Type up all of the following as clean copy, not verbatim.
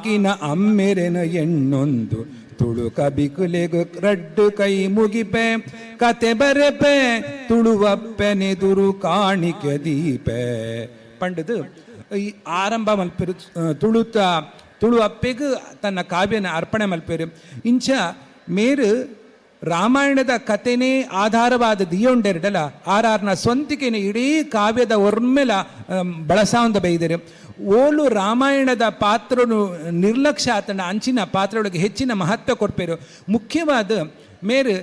ಕಿನ ಅಮ್ಮೆರೆನ ಎಣ್ಣೊಂದು ತುಳು ಕಬಿಕುಲೆಗು ರಡ್ಡು ಕೈ ಮುಗಿಪೆ ಕತೆ ಬರೆಪೆ ತುಳುವಪ್ಪೆನೆದುರು ಕಾಣಿಕೆ ದೀಪೆ ಪಂಡದು ಈ ಆರಂಭ ಮಲ್ಪೆರು. ತುಳುತ ತುಳು ಅಪ್ಪೆಗು ತನ್ನ ಕಾವ್ಯನ ಅರ್ಪಣೆ ಮಲ್ಪೆರು. ಇಂಚ ಮೇರು ರಾಮಾಯಣದ ಕತೆನೇ ಆಧಾರವಾದ ದಿಯೊಂಡೆರಡಲ ಆರಾರ್ನ ಸ್ವಂತಿಕೆನ ಇಡೀ ಕಾವ್ಯದ ಒರ್ಮೆಲ ಬಳಸಾವಂದ ಬೈದರು. ಓಲು ರಾಮಾಯಣದ ಪಾತ್ರನು ನಿರ್ಲಕ್ಷ್ಯ ಆತನ ಅಂಚಿನ ಪಾತ್ರಗಳಿಗೆ ಹೆಚ್ಚಿನ ಮಹತ್ವ ಕೊಡ್ಪೇರು. ಮುಖ್ಯವಾದ ಮೇರು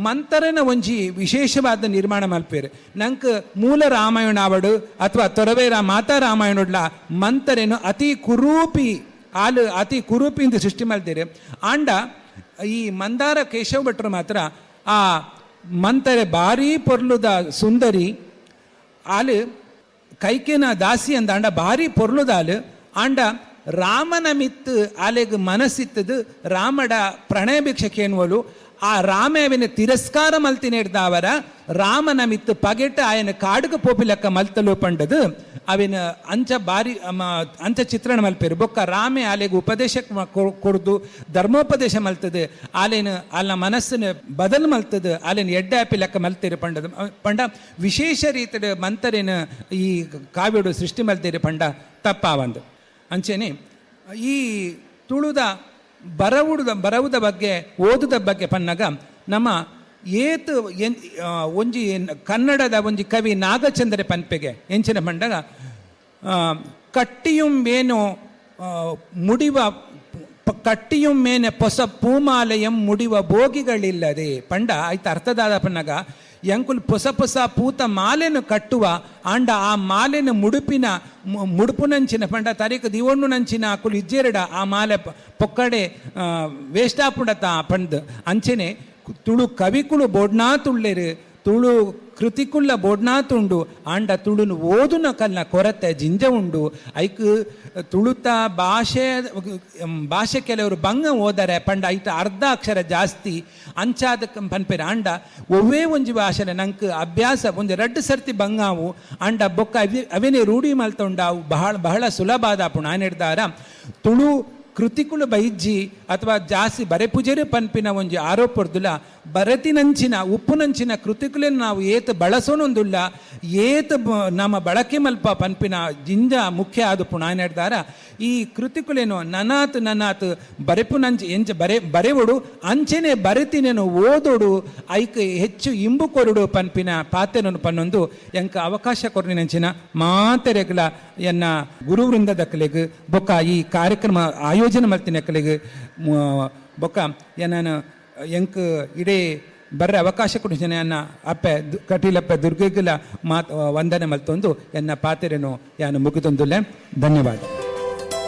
ಮಂತರನ ಒಂಜಿ ವಿಶೇಷವಾದ ನಿರ್ಮಾಣ ಮಲ್ಪೇರು. ನಂಗೆ ಮೂಲ ರಾಮಾಯಣ ಆವಡು ಅಥವಾ ತೊರವೇರ ಮಾತಾ ರಾಮಾಯಣಡ್ಲ ಮಂತರೇನು ಅತಿ ಕುರೂಪಿ ಆಲು ಅತಿ ಕುರೂಪಿಯಿಂದ ಸೃಷ್ಟಿ ಮಲ್ತೇರು. ಆಂಡ ಈ ಮಂದಾರ ಕೇಶವ ಭಟ್ರು ಮಾತ್ರ ಆ ಮಂತರೆ ಭಾರೀ ಪೊರ್ಲುದ ಸುಂದರಿ ಆಲು ಕೈಕೇನ ದಾಸಿ ಅಂದ ಆಂಡ ಭಾರಿ ಪೊರ್ಲುದಾಲು ಆಂಡ ರಾಮನ ಮಿತ್ತು ಆಲೆಗ್ ಮನಸ್ಸಿತ್ತದು ರಾಮಡ ಪ್ರಣಯ ಭಿಕ್ಷಕೇನ್ವಲು ಆ ರಾಮವಿನ ತಿರಸ್ಕಾರ ಮಲ್ತಿನೇಡ್ದಾವರ ರಾಮನ ಮಿತ್ತು ಪಗೆಟ ಆಯನ ಕಾಡುಗ ಪೋಪಿಲಕ್ಕ ಮಲ್ತಲು ಪಂಡದು ಅವಿನ ಅಂಚ ಬಾರಿ ಅಂಚ ಚಿತ್ರಣ ಮಲ್ಪೇರು. ಬೊಕ್ಕ ರಾಮೆ ಆಲೆಗ್ ಉಪದೇಶ ಕೊರ್ದು ಧರ್ಮೋಪದೇಶ ಮಲ್ತದೆ ಆಲೇನು ಅಲ್ಲ ಮನಸ್ಸಿನ ಬದಲು ಮಲ್ತದೆ ಆಲೇನು ಎಡ್ಡೆ ಆಪಿ ಲೆಕ್ಕ ಮಲ್ತೇರು ಪಂಡದು ಪಂಡ ವಿಶೇಷ ರೀತಿಯ ಮಂತರೇನು ಈ ಕಾವ್ಯಡು ಸೃಷ್ಟಿ ಮಲ್ತೇರು ಪಂಡ ತಪ್ಪಾವಂದು. ಅಂಚೆನೆ ಈ ತುಳುದ ಬರವುದ ಬಗ್ಗೆ ಓದುದ ಬಗ್ಗೆ ಪನ್ನಾಗ ನಮ್ಮ ಏತು ಒಂಜಿ ಕನ್ನಡದ ಒಂಜಿ ಕವಿ ನಾಗಚಂದ್ರ ಪನ್ಪೆಗೆ ಎಂಚಿನ ಪಂಡಗ ಕಟ್ಟಿಯುಂ ಮೇನು ಮುಡಿವ ಕಟ್ಟಿಯುಂ ಮೇನೆ ಪೊಸ ಪೂಮಾಲಯಂ ಮುಡಿವ ಭೋಗಿಗಳಿಲ್ಲದೆ ಪಂಡ ಆಯ್ತು ಅರ್ಥದಾದ ಪನ್ನಾಗ ಎಂಕುಲ್ ಪೊಸ ಪೊಸ ಪೂತ ಮಾಲೆನು ಕಟ್ಟುವ ಆಂಡ ಆ ಮಾಲೆನ ಮುಡುಪಿನ ಮುಡುಪುನಂಚಿನ ಪಂಡ ತಾರೀಕು ದಿವಣ್ಣು ನಂಚಿನ ಅಕುಲು ಇಜ್ಜೆರಡ ಆ ಮಾಲೆ ಪೊಕ್ಕಡೆ ವೇಸ್ಟ್ ಆಪುಂಡತ ಪಂಡ್. ಅಂಚೆನೆ ತುಳು ಕವಿಕುಳು ಬೋಡ್ನಾ ತುಳ್ಳೆರು ತುಳು ಕೃತಿಕುಲ್ಲ ಬೋಡ್ನಾ ತುಂಡು ಆಂಡ ತುಳುನು ಓದುನ ಕಲ್ನ ಕೊರತೆ ಜಿಂಜ ಉಂಡು. ಐಕ್ ತುಳುತ ಭಾಷೆ ಭಾಷೆ ಕೆಲವರು ಬಂಗ ಓದರೆ ಪಂಡ ಐತ ಅರ್ಧ ಅಕ್ಷರ ಜಾಸ್ತಿ ಅಂಚಾದ ಪನ್ಪೇರು. ಆಂಡ ಒವ್ವೇ ಒಂಜಿ ಭಾಷೆ ನಂಗೆ ಅಭ್ಯಾಸ ಒಂಜಿ ರಡ್ಡು ಸರ್ತಿ ಬಂಗಾವು ಆಂಡ ಬೊಕ್ಕ ಅವೇನೇ ರೂಢಿ ಮಲ್ತೊಂಡಾವು ಬಹಳ ಬಹಳ ಸುಲಭ ಆದಾಪುಣ ಆನೆಡ್ದಾರ ತುಳು ಕೃತಿಕುಲು ಬೈಜ್ಜಿ ಅಥವಾ ಜಾಸ್ತಿ ಬರೆ ಪೂಜೆರು ಪನ್ಪಿನ ಒಂಜಿ ಆರೋಪರ್ದುಲ ಬರತಿನಂಚಿನ ಉಪ್ಪುನಂಚಿನ ಕೃತಿಕುಲನ್ನು ನಾವು ಏತ್ ಬಳಸೋನೊಂದುಲ್ಲ ಏತ್ ನಮ್ಮ ಬಳಕೆ ಮಲ್ಪ ಪನ್ಪಿನ ಜಿಂಜ ಮುಖ್ಯ ಆದ ಪುಣಾನೆಡ್ದಾರ ಈ ಕೃತಿಕುಲೇನು ನನಾತ್ ನನಾತ್ ಬರೆಪುನಂಚಿ ಎಂಚ ಬರೆ ಬರೆವಡು ಅಂಚೆನೆ ಬರೆತಿನೇನು ಓದೋಡು ಐಕ್ ಹೆಚ್ಚು ಇಂಬು ಕೊರಡು ಪನ್ಪಿನ ಪಾತೆನನು ಪನ್ನೊಂದು ಎಂಕ ಅವಕಾಶ ಕೊರ್ನಿನಂಚಿನ ಮಾತೆರೆಗ್ಲ ಎನ್ನ ಗುರುವೃಂದದಕ್ಕಲೆಗ್ ಬೊಕ್ಕ ಈ ಕಾರ್ಯಕ್ರಮ ಆಯೋಜನೆ ಮಲ್ತಿನಕ್ಕಲೆಗ್ ಬೊಕ್ಕ ಎನ್ನ ಎಂಕ್ ಇಡೀ ಬರ್ರೆ ಅವಕಾಶ ಕೊಡಿಸಿನ ಎನ್ನ ಅಪ್ಪೆ ಕಟೀಲಪ್ಪೆ ದುರ್ಗೆಗ್ಲ ಮಾತ್ ವಂದನೆ ಮಲ್ತೊಂದು ಎನ್ನ ಪಾತೆರೆನು ಯಾನು ಮುಗಿತೊಂದುಲ್ಲೆ. ಧನ್ಯವಾದ.